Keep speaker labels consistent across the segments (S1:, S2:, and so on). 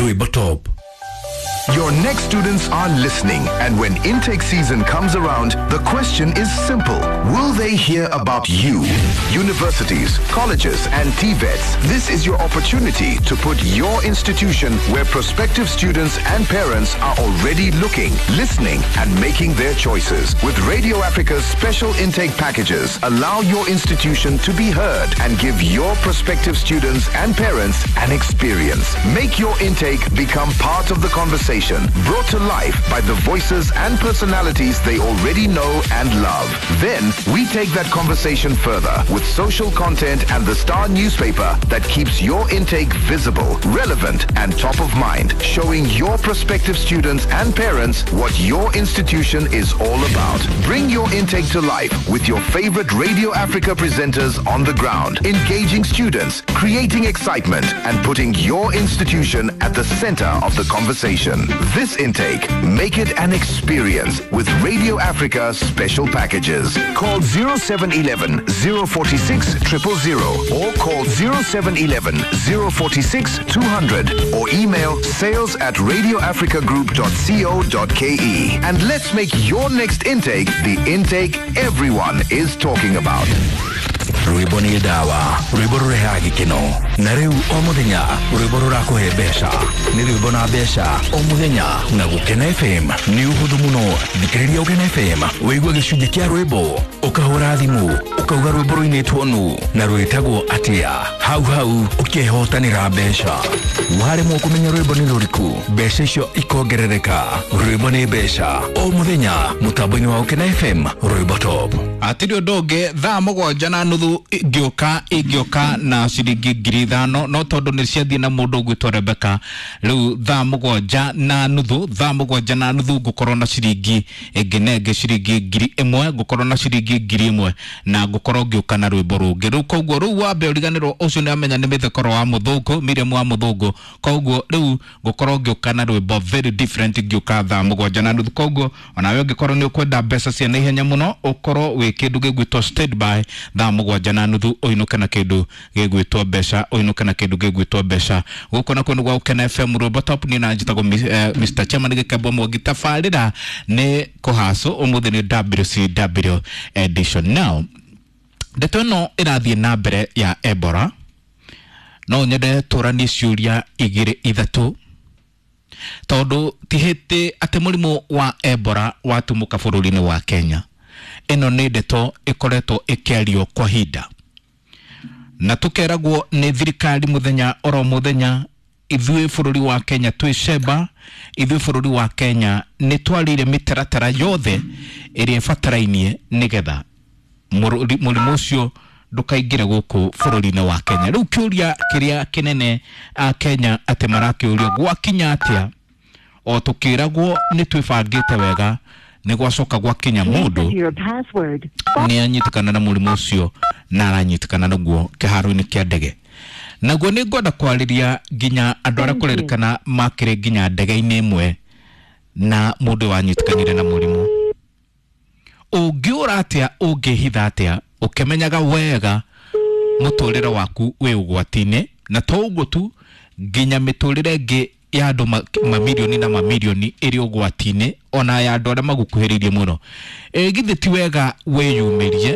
S1: Rwimbo Top.
S2: Your next students are listening, and when intake season comes around, the question is simple. Will they hear about you? Universities, colleges, and TVETs, this is your opportunity to put your institution where prospective students and parents are already looking, listening, and making their choices. With Radio Africa's special intake packages, allow your institution to be heard and give your prospective students and parents an experience. Make your intake become part of the conversation, brought to life by the voices and personalities they already know and love. Then we take that conversation further with social content and the Star newspaper that keeps your intake visible, relevant, and top of mind, showing your prospective students and parents what your institution is all about. Bring your intake to life with your favorite Radio Africa presenters on the ground, engaging students, creating excitement, and putting your institution at the center of the conversation. This intake, make it an experience with Radio Africa special packages. Call 0711 046 000 or call 0711 046 200 or email sales at radioafricagroup.co.ke. And let's make your next intake the intake everyone is talking about.
S1: Rwimbo nĩ ndawa, rwimbo rũrehaga gĩkeno, na rĩu o mũthenya rwimbo rũrakũhe mbeca. Nĩ rwimbo na mbeca o mũthenya na Gũkena FM. Nĩ ũhũthũ mũno, thikĩrĩria Gũkena FM wĩigue gĩcunjĩ kĩa rwimbo, ũkahũra thimũ ũkauga rwimbo rũinĩtwo nũ na rwĩtagwo atĩa, hau hau ũkehotanĩra mbeca. Waremwo kũmenya rwimbo nĩ rũrĩkũ, mbeca icio ikongerereka. Rwimbo nĩ mbeca o mũthenya mũtambo-inĩ wa Gũkena FM, Rwimbo Top.
S3: Atirĩ ũndũ ũngĩ, 7:30 ingĩũka na ciringi 5,000, no tondũ nĩ ciathiĩ na mũndũ ũgwĩtwo Rebecca, rĩu 7:30, 7:30 ngũkorwo na ciringi ĩngĩ na ĩngĩ, ciringi 1,000, ngũkorwo na ciringi 1,000 na ngũkorwo ngĩũka na rwĩmbo rũngĩ. Rĩu koguo rĩu wambe ũriganĩrwo ũcio nĩ amenya nĩ mĩthekoro wa mũthũngũ, Miriam wa mũthũngũ, koguo rĩu ngũkorwo ngĩũka na rwĩmbo very different ngĩũka 7:30. Koguo onawe ũngĩkorwo nĩ ũkwenda mbeca cia naihenya mũno, ũkorwo wĩ kĩndũ gĩgwĩtwo standby 7:30, ũinũke na kĩndũ gĩgwĩtwo mbeca, ũinũke na kĩndũ gĩgwĩtwo mbeca. Gũkũ nakuo nĩ gwa Gũkena FM Rwimbo Top, niĩ na njĩtagwo Mr. Chairman Gĩkembo Mwangi. Tabarĩra nĩ kũhacũ, ũmũthĩ nĩ WCW edition. Now ndeto ĩno ĩrathiĩ na mbere ya Ebola, no nyende tũranie ciũria igĩrĩ ithatũ, tondũ ti hĩndĩ atĩ mũrimũ wa Ebola watumũka bũrũri-inĩ wa Kenya. Ĩno nĩ ndeto ĩkoretwo ĩkĩario kwa ihinda, na tũkeragwo nĩ thirikari mũthenya oro mũthenya, ithuĩ bũrũri wa Kenya twĩ cemba, ithuĩ bũrũri wa Kenya nĩ twarĩire mĩtaratara yothe ĩrĩa ĩbatarainie nĩgetha mũrimũ ũcio ndũkaingĩre gũkũ bũrũri-inĩ wa Kenya. Rĩu kĩũria kĩrĩa kĩnene a Kenya atĩ marakĩũrio gwakinya atĩa, o tũkĩragwo nĩ twĩbangĩte wega, nĩ gwacoka gwakinya mũndũ nĩ anyitĩkana na mũrimũ ũcio na aranyitĩkana naguo kĩharo-inĩ kĩa ndege. Naguo nĩ ngwenda kwarĩria nginya andũ arĩa kũrerĩkana makĩrĩ nginya ndege-inĩ ĩmwe na mũndũ wanyitĩkanire na mũrimũ. Ũngĩũra atĩa, ũngĩhitha atĩa, ũkĩmenyaga wega mũtũrĩre waku wĩ ũgwati-inĩ, na to ũguo tu, nginya mĩtũrĩre ĩngĩ ya andũ mamirioni na mamirioni ĩrĩ ũgwati-inĩ, ona ya andũ arĩa magũkuhĩrĩirie mũno. Githĩ ti wega wĩyumĩrie,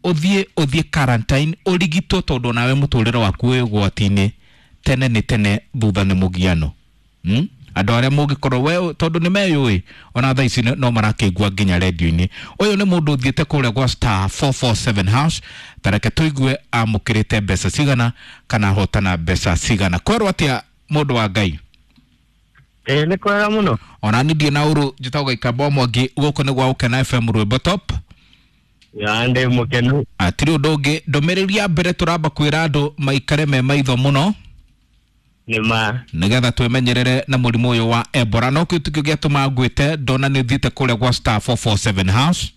S3: ũthiĩ quarantine, ũrigitwo, tondũ nawe mũtũrĩre waku wĩ ũgwati-inĩ. Tene nĩ tene, thutha nĩ mũgiano. Andũ arĩa mũngĩkorwo we, tondũ nĩ meyũĩ, ona thaa ici no marakĩigua nginya redio-inĩ. Ũyũ nĩ mũndũ ũthiĩte kũrĩa gwa star 447 hash, ta reke tũigue amũkĩrĩte mbeca cigana kana ahotana mbeca cigana. Kwerwo atĩa mũndũ wa Ngai?
S4: Nĩ kwega mũno.
S3: Ona niĩ ndirĩ na ũru, njĩtagwo Gĩkamba Mwangi, gũkũ nĩ gwa Gũkena FM Rwimbo Top.
S4: Ya, ndĩ mũkenu.
S3: Atirĩ ũndũ ũngĩ, ndũmĩrĩri ya mbere tũramba kwĩra andũ maikare me maitho mũno,
S4: Nĩ ma.
S3: nĩgetha twĩmenyerere na mũrimũ ũyũ wa Ebola. No kĩu tikĩo gĩatũma ngwĩte, ndona nĩ ũthiĩte kũrĩa gwa star 447 hash.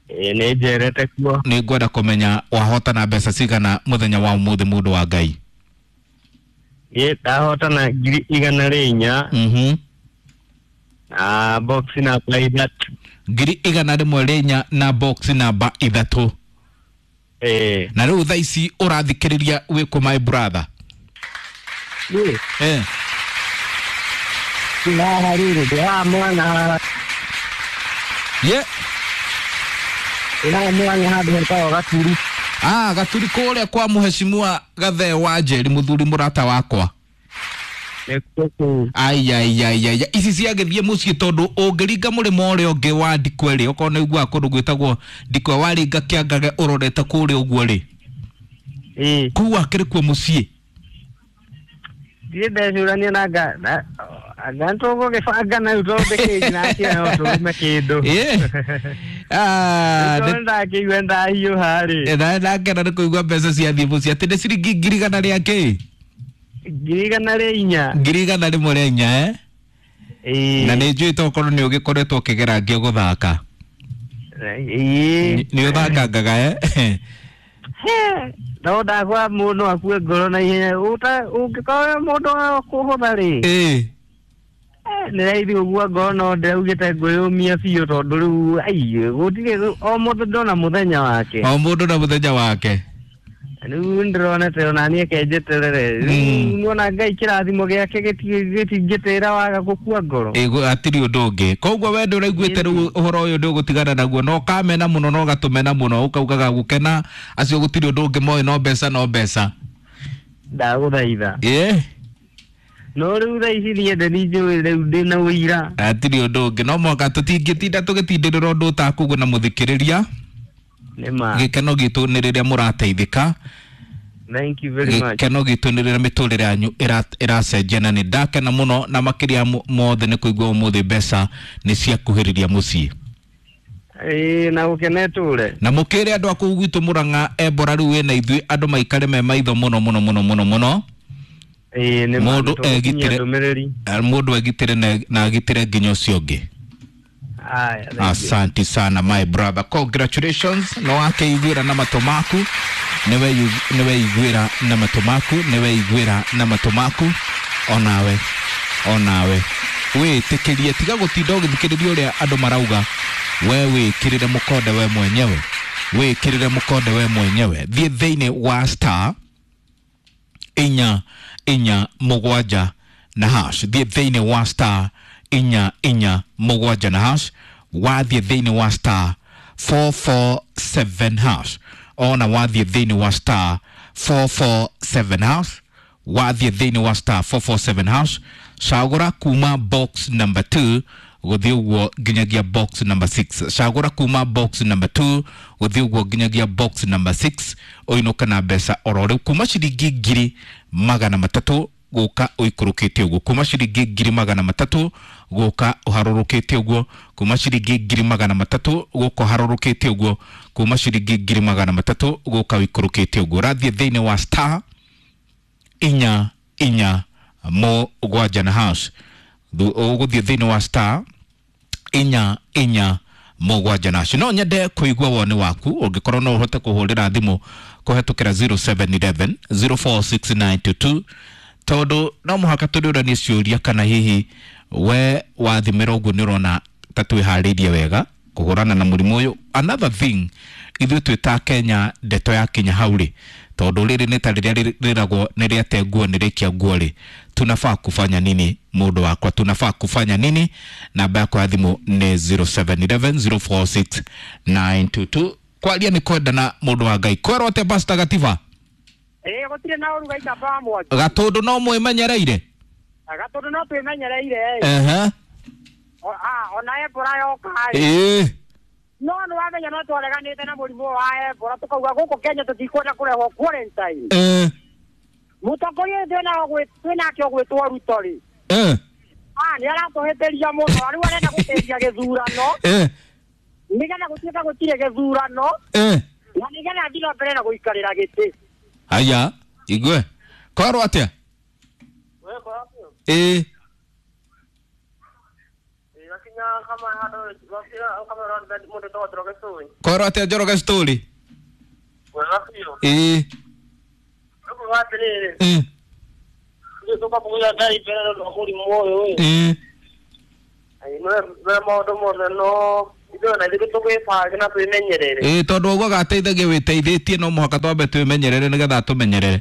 S4: Nĩ njerete kuo.
S3: Nĩ ngwenda kũmenya wahotana mbeca cigana mũthenya wa ũmũthĩ, mũndũ wa Ngai.
S4: Niĩ ndahotana 104,000. Na box namba 3.
S3: 104,000 na box namba 3. Na rĩu thaa ici ũrathikĩrĩria wĩ kũ, my brother?
S4: Haha rĩrĩ ndĩraha mwana.
S3: Ye.
S4: Ndĩraha mwana handũ hetagwo Gaturi.
S3: Ah, Gaturi kũrĩa kwa mũhecimua Gathee wa Njeri, mũthuri mũrata wakwa.
S4: Nĩkuo kũu.
S3: Aiaiaiaia, ici ciagĩthiĩ mũciĩ tondũ ũngĩringa mũrĩmo ũrĩa ũngĩ wa Ndikwe rĩ, okorwo nĩ ũiguaga kũndũ gwĩtagwo Ndikwe, waringa Kĩangage ũrorete kũrĩa ũguo rĩ,
S4: Ĩĩ.
S3: kũu akĩrĩ kuo mũciĩ.
S4: Ndirĩ ndecũrania na anga nĩtũgũgĩbanga na rĩu tondũ ndĩkĩnji nake no tũrume kĩndũ.
S3: Ĩĩ. Ah,
S4: Tondũ ndakĩigua ndahiũha rĩ.
S3: na ndakena nĩ kũigua mbeca ciathiĩ mũciĩ atĩ nĩ ciringi 100,000 rĩa kĩ?
S4: 104,000.
S3: 104,000 eh?
S4: Ĩĩ.
S3: Na nĩ njũĩ tokorwo nĩ ũgĩkoretwo ũkĩgera ngĩ gũthaka.
S4: Ĩĩ.
S3: Nĩ ũthakangaga eh?
S4: No ndakwa mũndũ akue ngoro na ihenya ũngĩkorwo mũndũ wa kũhũtha rĩ.
S3: Ĩĩ.
S4: Nĩ raithi gũkua ngoro no ndĩraugĩte ngwĩyũmia biũ tondũ rĩu ai gũtirĩ o mũndũ ndona mũthenya wake.
S3: O mũndũ na mũthenya wake.
S4: Rĩu ndĩronete ona niĩ kenjeterere. Rĩu nĩwona Ngai kĩrathimo gĩake gĩtingĩtĩra waga gũkua ngoro.
S3: Ĩĩ, hatirĩ ũndũ ũngĩ. Koguo we ndũraiguĩte rĩu ũhoro ũyũ ndũgũtigana naguo no ũkamena mũno na ũgatũmena mũno ũkaugaga gũkena acio gũtirĩ ũndũ ũngĩ moĩ no mbeca no mbeca.
S4: Ndagũthaitha.
S3: Ĩĩ.
S4: No rĩu thaa ici niĩ ndĩ njũĩ rĩu ndĩna ũira.
S3: Hatirĩ ũndũ ũngĩ no mũhaka tũtingĩtinda tũgĩtindĩrĩra ũndũ ũtakugwo na mũthikĩrĩria.
S4: Nĩma.
S3: Gĩkeno gitũ nĩ rĩrĩa mũrateithĩka.
S4: Thank you very much.
S3: Gĩkeno gitũ nĩ rĩrĩa mĩtũrĩre yanyu ĩracenjia na nĩ ndakena mũno na makĩria mothe nĩ kũigua ũmũthĩ mbeca nĩ ciakuhĩrĩria mũciĩ.
S4: Ĩĩ na gũkena ĩtũre.
S3: Na mũkĩre andũ a kũu gwitũ Mũrang'a Ebola rĩu wĩna ithuĩ andũ maikare me maitho mũno mũno mũno mũno mũno.
S4: Ĩĩ nĩ
S3: Mũndũ egitĩre
S4: ndũmĩrĩri.
S3: Mũndũ egitĩre na agitĩre nginya ũcio ũngĩ.
S4: Aya, thank you.
S3: Asante sana my brother. Congratulations. No wakeiguĩra na matũ maku. Nĩweiguĩra na matũ maku, nĩweiguĩra na matũ maku. Onawe, onawe. Wĩtĩkĩrie, tiga gũtinda ũgĩthikĩrĩria ũrĩa andũ marauga. We wĩkĩrĩre mũkonde we mwenyewe. Wĩkĩrĩre mũkonde we mwenyewe. Thiĩ thĩinĩ wa star 4 4 7 na hash. Thiĩ thĩinĩ wa star 4 4 7 na hash. Wathiĩ thĩinĩ wa star 447 hash. Ona wathiĩ thĩinĩ wa star 447 hash. Wathiĩ thĩinĩ wa star 447 hash. Cagũra kuma box number 2 gũthiĩ ũguo nginyagia box number 6. Cagũra kuma box number 2 gũthiĩ ũguo nginyagia box number 6 ũinũke na mbeca oro rĩu kuma ciringi 300,000 gũka ũikũrũkĩte ũguo, kuma ciringi 300,000 gũka ũharũrũkĩte ũguo, kuma ciringi 300,000 gũka ũharũrũkĩte ũguo, kuma ciringi 300,000 gũka ũikũrũkĩte ũguo. Ũrathiĩ thĩinĩ wa star 4 4 7 na hash. Ũgũthiĩ thĩinĩ wa star 4 4 7 na hash. No nyende kũigua woni waku ũngĩkorwo no ũhote kũhũrĩra thimũ kũhetũkĩra 0711 046922 tondũ no mũhaka tũrĩũranie ciũria kana hihi we wathimĩra ũguo nĩ ũrona ta twĩharĩirie wega kũhũrana na mũrimũ ũyũ. Another thing, ithuĩ twĩ ta Kenya ndeto yakinya hau rĩ, tondũ rĩrĩ nĩ ta rĩrĩa rĩragwo nĩ rĩate nguo nĩ rĩkia nguo rĩ, tunafaa kufanya nini mũndũ wakwa, tunafaa kufanya nini? Namba yakwa ya thimũ nĩ 0711 046922. Kwaria nĩ kwendana mũndũ wa Ngai. Kwerwo atĩa Pastor Gatiba?
S5: Ĩĩ gũtirĩ na ũru gaita ba mwaki.
S3: Gatũndũ no mwĩmenyereire?
S5: Gatũndũ no twĩmenyereire.
S3: Ehe.
S5: Ona Ebola yoka rĩ.
S3: Ĩĩ.
S5: No nĩ wamenya no twareganĩte na mũrimũ wa Ebola tũkauga gũkũ Kenya tũtikwenda kũrehwo quarantine.
S3: Ĩĩ.
S5: Mũtongoria ũyũ twĩnake ũgwĩtwo Ruto rĩ.
S3: Ĩĩ.
S5: Nĩ aratũhĩtĩria mũno, rĩu arenda gũtĩria gĩthurano.
S3: Ĩĩ.
S5: Nĩgetha gũtuĩka gũtirĩ gĩthurano.
S3: Ĩĩ.
S5: Na nĩgetha athiĩ na mbere na gũikarĩra gĩtĩ.
S3: Haya, igue. Kwarwo atĩa? Ĩĩ. Kwarwo atĩa Njoroge story? Ĩĩ. Ĩĩ. Ĩĩ. Ĩĩ tondũ augaga ateithagia wĩteithĩtie no mũhaka twambe twĩmenyerere nĩgetha atũmenyerere.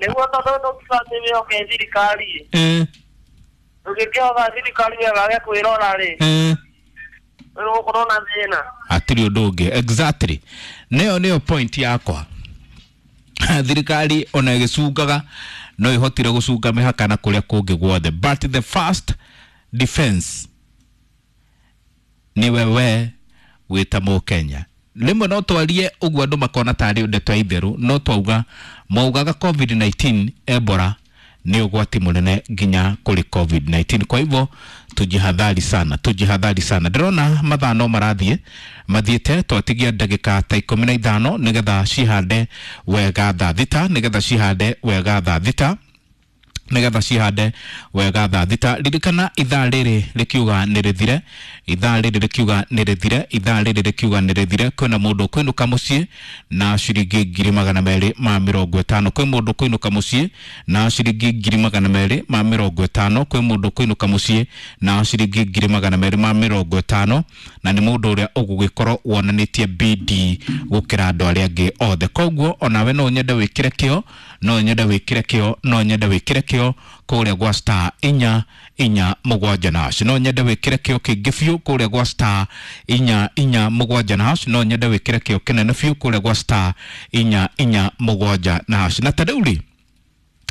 S4: Nĩguo tondũ tũbatiĩ wĩhoke thirikari.
S3: Ĩĩ.
S4: Ũngĩkĩhoka thirikari yage kwĩrora rĩ, nĩgũkorwo na thĩna.
S3: Hatirĩ ũndũ ũngĩ, exactly, nĩyo point yakwa. Thirikari ona ĩgĩcungaga no ĩhotire gũcunga mĩhaka na kũrĩa kũngĩ guothe, but the first defense nĩ wewe wĩta mũkenya. Rĩmwe no twarie ũguo andũ makona tarĩ ndeto ya itherũ, no twauga maugaga COVID-19, Ebola nĩ ũgwati mũnene nginya kũrĩ COVID-19. Kwa hivyo tujihadhari sana, tujihadhari sana. Ndĩrona mathaa no marathiĩ mathiĩte, twatigia ndagĩka ta 15 nĩgetha cihande wega thaa 6, nĩgetha cihande wega thaa 6, nĩgetha cihande wega thaa 6. Ririkana ithaa rĩrĩ rĩkiuga nĩ rĩthire, ithaa rĩrĩ rĩkiuga nĩ rĩthire, ithaa rĩrĩ rĩkiuga nĩ rĩthire. Kwĩna mũndũ ũkũinũka mũciĩ na ciringi 250,000. Kwĩ mũndũ ũkũinũka mũciĩ na ciringi 250,000. Kwĩ mũndũ ũkũinũka mũciĩ na ciringi 250,000, na nĩ mũndũ ũrĩa ũgũgĩkorwo wonanĩtie bidii gũkĩra andũ arĩa angĩ othe. Koguo onawe no nyende wĩkĩre kĩo, no nyende wĩkĩre kĩo, no nyende wĩkĩre kĩo kũrĩa gwa star 447 na hash. No nyende wĩkĩre kĩo kĩingĩ biũ kũrĩa gwa star 447 na hash. No nyende wĩkĩre kĩo kĩnene biũ kũrĩa gwa star 447 na hash. Na ta rĩu rĩ,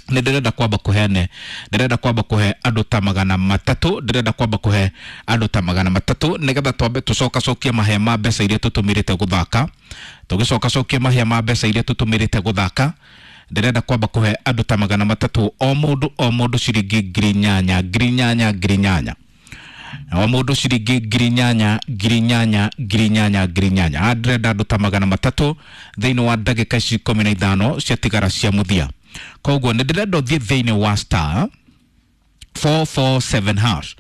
S3: nĩ ndĩrenda kwamba kũhene, ndĩrenda kwamba kũhe andũ ta 300, ndĩrenda kwamba kũhe andũ ta 300 nĩgetha twambe tũcokacokie mahĩa ma mbeca iria tũtũmĩrĩte gũthaka. Tũgĩcokacokie mahĩa ma mbeca iria tũtũmĩrĩte gũthaka, ndĩrenda kwamba kũhe andũ ta 300, o mũndũ o mũndũ ciringi 8,000, 8,000, 8,000, o mũndũ ciringi 8,000, 8,000, 8,000, 8,000. Haha ndĩrenda andũ ta 300 thĩinĩ wa ndagĩka ici 15 ciatigara cia mũthia. Koguo nĩ ndĩrenda ũthiĩ thĩinĩ wa star 447 hash,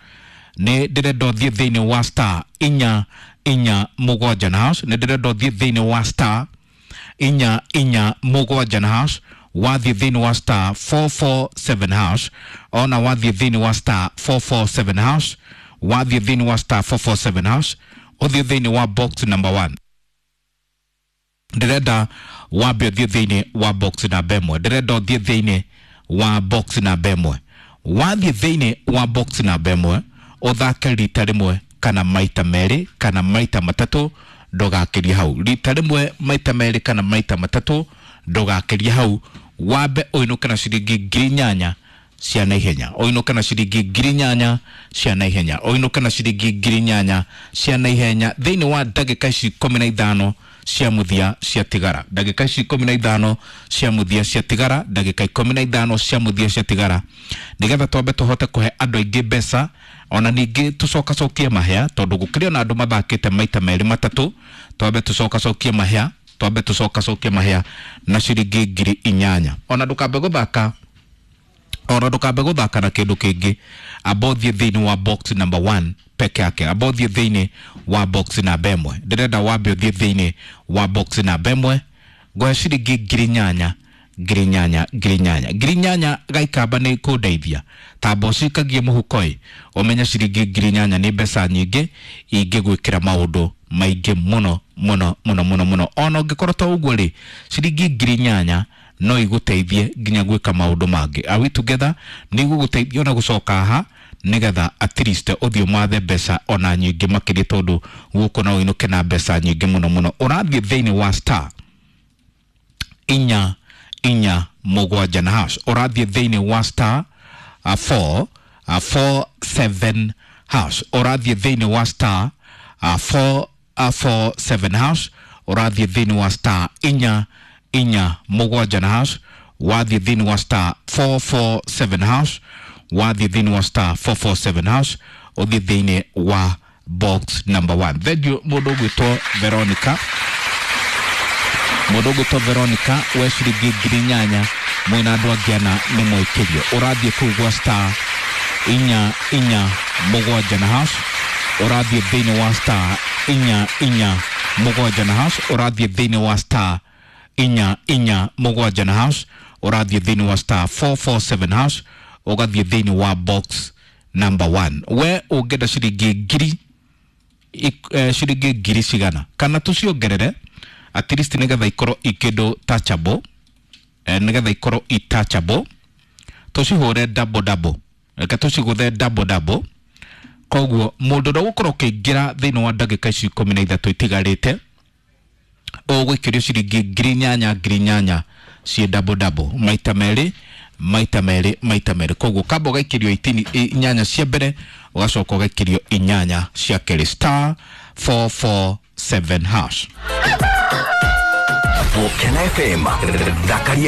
S3: nĩ ndĩrenda ũthiĩ thĩinĩ wa star 447 na hash, nĩ ndĩrenda ũthiĩ thĩinĩ wa star 447 na hash. Wathiĩ thĩinĩ wa star 447 hash, ona wathiĩ thĩinĩ wa star 447 hash, wathiĩ thĩinĩ wa star 447 hash, ũthiĩ thĩinĩ wa box number 1. Ndĩrenda wambe ũthiĩ thĩinĩ wa box namba 1, ndĩrenda ũthiĩ thĩinĩ wa box namba 1. Wathiĩ thĩinĩ wa box namba 1, ũthake rita rĩmwe kana maita merĩ kana maita matatũ, ndũgakĩrie hau. Rita rĩmwe, maita merĩ kana maita matatũ, ndũgakĩrie hau. Wambe ũinũke na ciringi 8,000 cia naihenya, ũinũke na ciringi 8,000 cia naihenya, ũinũke na ciringi 8,000 cia naihenya thĩinĩ wa ndagĩka ici 15 cia mũthia ciatigara. Ndagĩka ici 15 cia mũthia ciatigara, ndagĩka 15 cia mũthia ciatigara, nĩgetha twambe tũhote kũhe andũ aingĩ mbeca, ona ningĩ tũcokacokie mahĩa, tondũ gũkĩrĩ ona andũ mathakĩte maita merĩ matatũ. Twambe tũcokacokie mahĩa, twambe tũcokacokie mahĩa na ciringi 8,000. Ona ndũkambe gũthaka, ona ndũkambe gũthaka na kĩndũ kĩngĩ, amba ũthiĩ thĩinĩ wa box number 1 peke yake, amba ũthiĩ thĩinĩ wa box namba 1. Ndĩrenda wambe ũthiĩ thĩinĩ wa box namba 1, ngũhe ciringi 8,000, 8,000, 8,000, 8,000. Gaikamba nĩ kũndeithia tamba ũcikagie mũhuko-ĩ, ũmenye ciringi 8,000 nĩ mbeca nyingĩ ingĩgwĩkĩra maũndũ maingĩ mũno mũno mũno mũno mũno. Ona ũngĩkorwo to ũguo rĩ, ciringi 8,000 no igũteithie nginya gwĩka maũndũ mangĩ. Are we together? Nĩ igũgũteithia ona gũcoka haha nĩgetha at least ũthiĩ ũmathe mbeca ona nyingĩ makĩria, tondũ gũkũ no ũinũke na mbeca nyingĩ mũno mũno. Ũrathiĩ thĩinĩ wa star 447 na hash, ũrathiĩ thĩinĩ wa star 447 hash, ũrathiĩ thĩinĩ wa star 447 hash, ũrathiĩ thĩinĩ wa star 447 na hash. Wathiĩ thĩinĩ wa star 447 hash, wathiĩ thĩinĩ wa star 447 hash, ũthiĩ thĩinĩ wa box number 1. Thank you mũndũ ũgwĩtwo Veronica, mũndũ ũgwĩtwo Veronica we ciringi 8,000 mwĩna andũ angĩ ana nĩ mwĩkĩrio. Ũrathiĩ kũu gwa star 447 na hash, ũrathiĩ thĩinĩ wa star 447 na hash, ũrathiĩ thĩinĩ wa star 447 na hash, ũrathiĩ thĩinĩ wa star 447 hash, ũgathiĩ thĩinĩ wa box number 1. We ũngĩenda ciringi ngiri ciringi ngiri cigana kana tũciongerere at least nĩgetha ikorwo ikĩndũ touchable, nĩgetha ikorwo i touchable, tũcihũre double double. Reke tũcigũthe double double. Koguo mũndũ ũrĩa ũgũkorwo ũkĩingĩra thĩinĩ wa ndagĩka ici 13 itigarĩte, ũgũikĩrio ciringi 8,000 8,000 ciĩ double double, maita merĩ, maita merĩ, maita merĩ. Koguo kamba ũgaikĩrio itini inyanya cia mbere, ũgacoka ũgaikĩrio inyanya cia kerĩ. Star 447 hash.
S1: Gũkena FM thakaria.